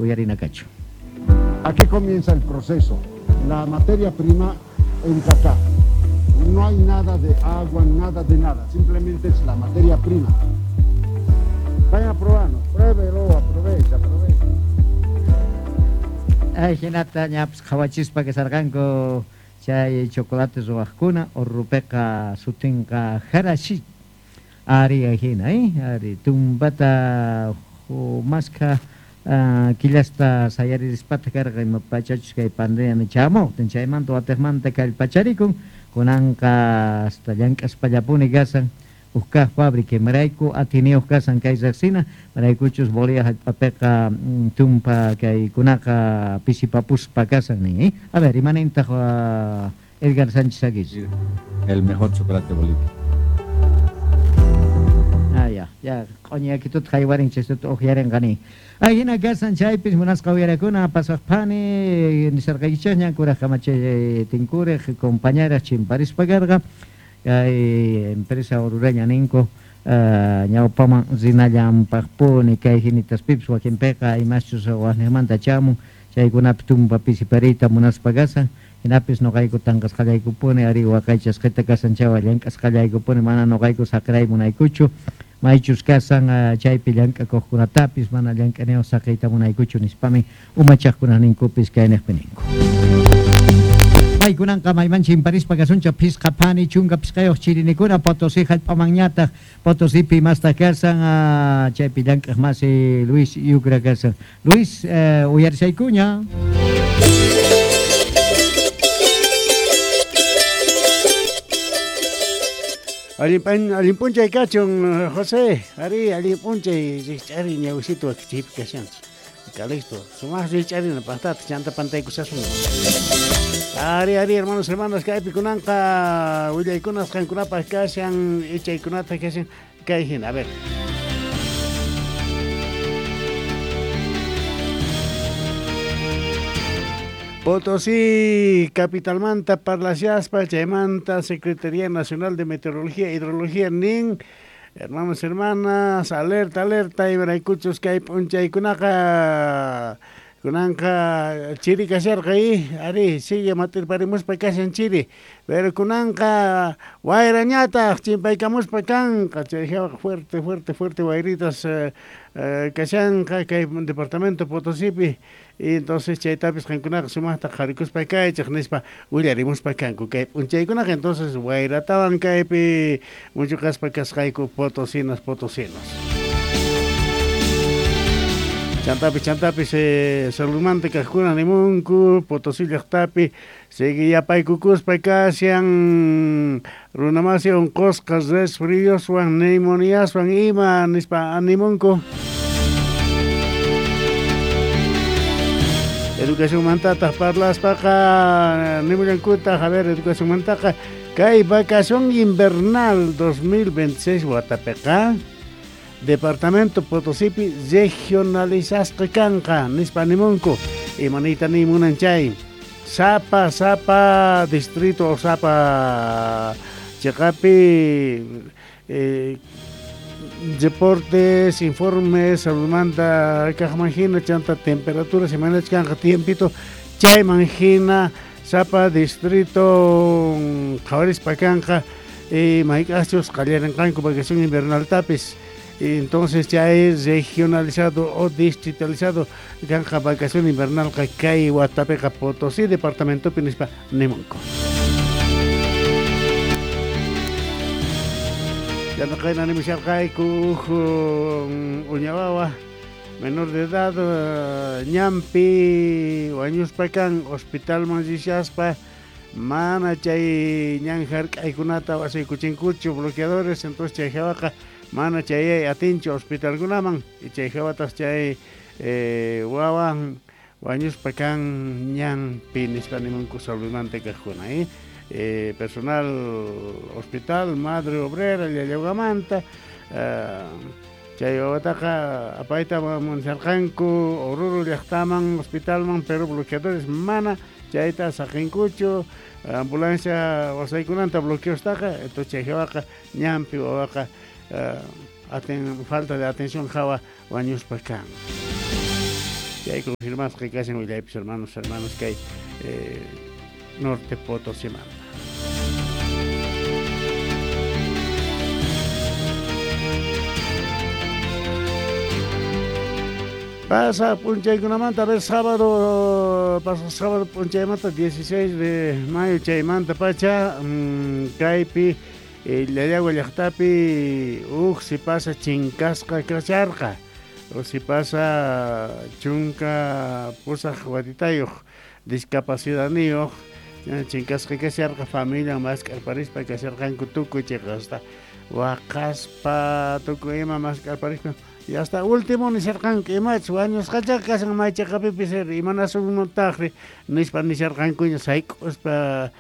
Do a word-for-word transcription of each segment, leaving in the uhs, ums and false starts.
Uyarina kachu. Aquí comienza el proceso. La materia prima entra acá. No hay nada de agua, nada de nada. Simplemente es la materia prima. Vayan a probarnos. Pruébelo, aprovecha, aprovecha. Ay, hinata ñapis qhawachispa kasarqanku chay chocolate ruwaqkuna Orrupiqa sutinqa jarashi ari hina, eh? Ari tumpata maskha uh, killasta sayarispata karqa ima pachachus kay pandemia chamuqtin chaymanta watiqmanta kallpacharikun kunanqa hasta llank'aspallapuni kasan uj kaq fábrica imarayku atiniyuq kasan kay riqsina maraykuchus Bolivia hallp'apiqa tumpa kaykunaqa pisipapuspa kasan nin, eh? A ver, imanintaq uh, Edgar Sánchez Aguirre. El mejor chocolate de Bolivia. Ah, ya, ya, q'uñakituta haywarin chaystuta uqyarinqani. Ay, hina kasan chaypis munasqa uyarakuna pasaqpani nisarqaykichikña kuraj kamachay tinkurej compañeras chimparispa karqa kay empresa orureña ninku uh, ñawpaman rinallanpaqpuni kay hinitaspipis wakinpiqa imaschus waqniqmanta chamun chaykunapi tumpa pisipariyta munaspa kasan hinapis noqayku tanqasqallaykupuni ari waqaychasqita kasan chaywan llank'asqallaykupuni mana noqayku saqray munaykuchu maychus kasan uh, chaypi llank'akuqkunatapis mana llank'aniyuq saqiyta munaykuchu nispami umachaqkunaq ninkupis kayniqpi ninku. Maykunanqa mayman chimparispa kasuncha phisqa phani chunka phisqayuq chirinikuna Potosí hallp'amanñataq Potosipi imastaq kasan uh, chaypi llank'aq masi Luis Yucra kasan. Luis, uh, uyarisaykuña. Allin p'unchay kachun, José, ari allin p'unchay rikch'ari ñawisitu wakichiypi kashanchis. Calixto, sumaq rikch'arina paqtata chanta pantaykusasun. Ari, ari, hermanos, hermanas, kaypi kunanqa willaykunas qankunapaq kashan, ichaykunata kashan, kay hina, a ver. Potosí, capitalmanta, parlashaspa, chaymanta, Secretaría Nacional de Meteorología e Hidrología, nin, hermanos, hermanas, alerta, alerta, imaraykuchus kay p'unchaykunaqa, kunanqa chiri kasharqa, ari, sigue matirparimuspa kashan chiri, pero kunanqa wayrañataq chimpaykamuspa kanqa, chay fuerte, fuerte, fuerte wayritas eh, eh, kashanqa kay departamento Potosipi. Y entonces chaytapis qankunaqa sumaqta qharikuspa kaychik nispa willarimuspa kanku kay p'unchaykunaqa entonces wayratawan kaypi muchuqaspa kasqayku potosinas potosinos. Chantapis chantapis eh, saludmanta kaqkuna nimunku Potosí llaqtapi seguiyapaykukuspa kashan runamasi unqusqa resfrioswan neumoniaswan ima nispa animunku. Educación mantataq parlaspaqa nimullankutaq, a ver, educación mantaqa kay vacación invernal dos mil veintiséis watapiqa departamento Potosipi regionalizasqa kanqa nispa nimunku imaniyta nimunan chay sapa sapa distrito o sapa chiqapi eh, deportes, informes, saludmanta kaqman hina chanta temperatura semanach kanqa tiempito chayman hina sapa distrito qhawarispa kanqa y mayk'achus qallarinqanku vacación invernal tapis y entonces chay regionalizado o distritalizado kanqa vacación invernal kay watapiqa Potosí departamentopi nispa nimunku. Ya no caen animisharqayku uñawawa menor de edad ñampi wañuspa kan hospitalman rishaspa mana chay ñan hark'aykunata wasaykuchinkuchu bloqueadores entonces chay hawaqa mana chayay atinchu hospitalkunaman y chay hawatas chay eh, wawan wañuspa kan ñampi nispa nimunku saludmanta kaqkuna eh Eh, personal hospital madre obrera llallawamanta uh, chay wawataqa apayta munsarqanku Oruro llaqtaman hospitalman pero bloqueadores mana chayta saqinkuchu ambulancia wasaykunanta bloqueostaqa entonces chay hawaqa ñampi wawaqa uh, aten, falta de atención hawa wañuspa kan. Chay confirmasqa kashan willaypis hermanos, hermanos kay eh, Norte Potosímanta. Pasa punchaykunamanta, a ver, sábado, pasa sábado punchaymanta, dieciséis de mayo chaymanta pacha, mmm, kaypi, eh, Llallagua llaqtapi, uj si pasa chinkasqa kasharqa, o si pasa chunka pusaq watitayuq, discapacidadniyuq, chinkasqa kasharqa, familia mask'arparispa kasharqanku tukuy chiqasta, waqaspa tukuy ima mask'arparispa. Y hasta último nisharqanku imachus wañusqachaqa kashan maychaqapipis imanasunmantaqri nispa nisharqankuña sayk'uspa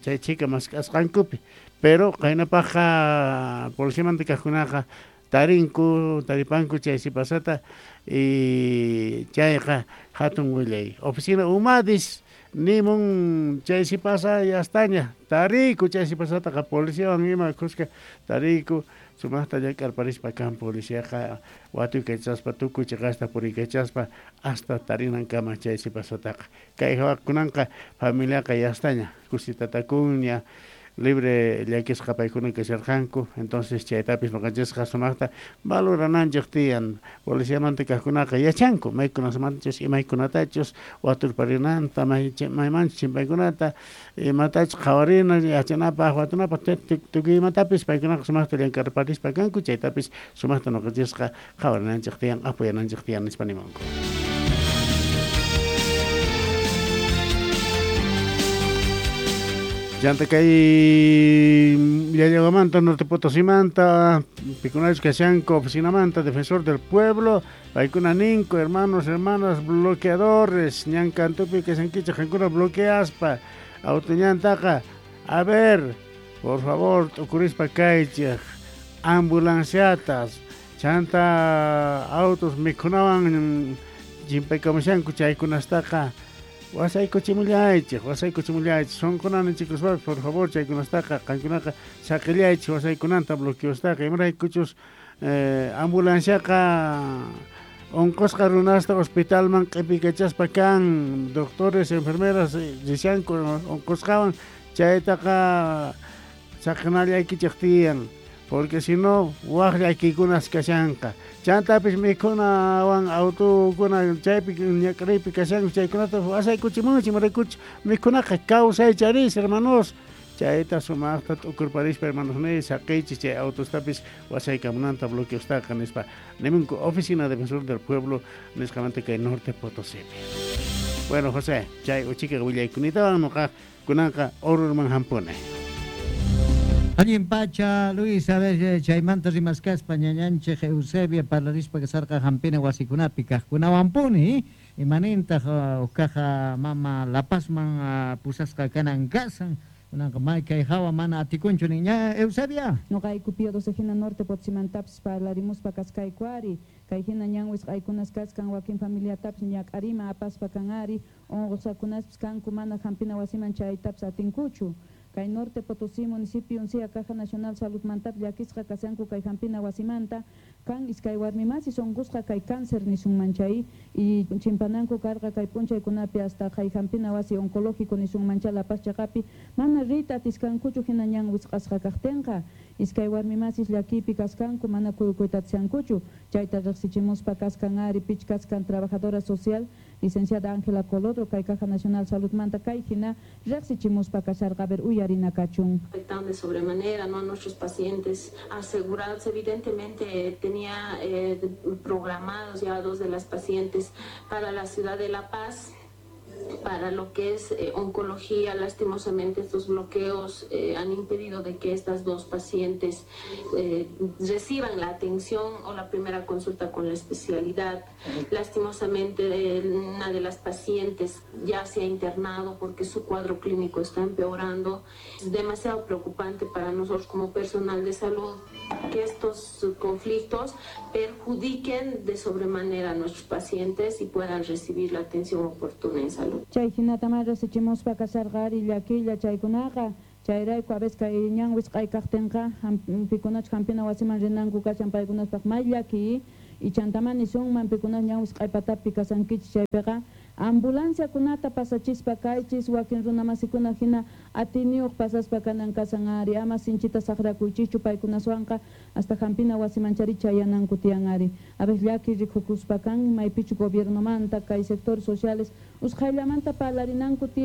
chay chika mask'asqankupi. Pero qaynapaqqa policiamanta kaqkunaqa tarinku, taripanku chay sipasata y chayqa hatun willay. Oficina Umadis nimun chay sipasa yastaña tariku chay sipasataqa policiawan ima kuska tariku. Sumaqta llank'arparispa kan policiaqa watuykachaspa tukuy chiqasta puriykachaspa hasta tarinankama chay sipasataqa. Kay hawakunanqa familiaqa yastaña kusitatakunña libre llakisqa paykuna kasharqanku, entonces chaytapis noqanchisqa sumaqta valorananchik tiyan. Policiamanta kaqkunaqa yachanku maykunamanchus imaykunatachus waturparinanta maymanchus chimpaykunata imatachus qhawarina yachanapaq watunapaq tukuy imatapis paykunaqa sumaqta llank'arparispa kanku chaytapis sumaqta noqanchisqa qhawarinanchik tiyan apoyananchik tiyan nispa nimanku. Llanta kay Llallaguamanta, Norte Potosimanta, Pikunachus kashanku, oficinamanta, Defensor del Pueblo, paykuna ninku, hermanos, hermanas, bloqueadores, ñankantupi kashankichej, qankuna bloqueaspa, autoñantaqa, a ver, por favor, t'ukurispa kaychej, ambulanciatas, chanta autos mikhunawan chimpaykamushanku chaykunastaqa, wasaykuchimullaychej, wasaykuchimullaychej, sunqunanichikuspapas, por favor, chaykunastaqa, qankunaqa saqillaychej wasaykunanta bloqueostaqa, imaraykuchus eh, ambulanciaqa unqusqa runasta hospitalman q'ipikachaspa kan, doctores, enfermeras rishanku unqusqawan, chaytaqa saqinallaykichej tiyan, porque si no waj llakiykunas kashanqa. Chantapis mikhunawan autukuna chaypi ñak'ariypi kashanku chaykunata wasaykuchimunchik imaraykuchus mikhunaqa kawsaycharis hermanos. Chayta sumaqta t'ukurparispa hermanos ni saqiychis chay autostapis wasaykamunanta bloqueostaqa nispa nimunku Oficina Defensor del Pueblo nisqamanta kay Norte Potosípi. Bueno, José, chay uchika willaykunatawan noqa kunanqa Orurman hampuni. Allin pacha, Luis, a ver, chaymanta rimaskaspa ñañanchej Eusebia parlarispa kasarqa hampina wasikunapi kaqkunawanpuni, imanintaq uqkaqa mama La Pazman pusasqa kanan kasan, kunanqa may kay hawa mana atikunchu niña Eusebia. Noqayku Pío doce hina Norte Potosimantapis parlarimuspa kaskayku ari, kay hina ñan wisq'aykunas kaskan wakin familiatapis ñak'arima apaspa kan ari, unqusqakunaspis kanku mana hampina wasiman chaytapis atinkuchu. Kay Norte Potosí municipio uncia Caja Nacional Salud mantap llakisqa kashanku kay hampina wasimanta kan iskay warmimasis unqusqa kay cáncer nisunman chay y chimpananku karqa kay p'unchaykunapi hasta kay hampina wasi oncológico nisunman chay La Paz chaqapi mana riyta atiskankuchu hina ñan wisq'asqa kaqtinqa iskay warmimasis llakipi kaskanku mana kuykuyta atishankuchu chayta riqsichimuspa kaskan ari pich kaskan trabajadora social licenciada Ángela Colodro kay Caja Nacional Salud manta kay hina riqsichimuspa kasharqa a ver uyarina kachun. Afectan de sobremanera, ¿no?, a nuestros pacientes asegurados. Evidentemente tenía eh, programados ya dos de las pacientes para la ciudad de La Paz, para lo que es eh, oncología. Lastimosamente estos bloqueos eh, han impedido de que estas dos pacientes eh, reciban la atención o la primera consulta con la especialidad. Lastimosamente eh, una de las pacientes ya se ha internado porque su cuadro clínico está empeorando. Es demasiado preocupante para nosotros como personal de salud que estos conflictos perjudiquen de sobremanera a nuestros pacientes y puedan recibir la atención oportuna en salud. Chay hinata riqsichimuspa kasarqa ari llakilla chaykunaqa chayrayku a veces kay ñan wisq'ay kaqtinqa hampikunachus hampina wasiman rinanku kashan paykunaspaq may llaki Y chantamá nisunman pikunas ñan wisq'ay patapi kasankichis chaypiqa ambulanciakunata pasachispa kaychis wakin runamasikuna hina atiniyuq pasaspa kanan kasan ari ama sinchita saqrakuychischu paykunaswanqa hasta hampina wasimanchari chayananku tiyan ari. A ver llaki rikukuspa kan maypichu gobiernomanta kay sectores sociales usqhayllamanta parlarinanku tiyan.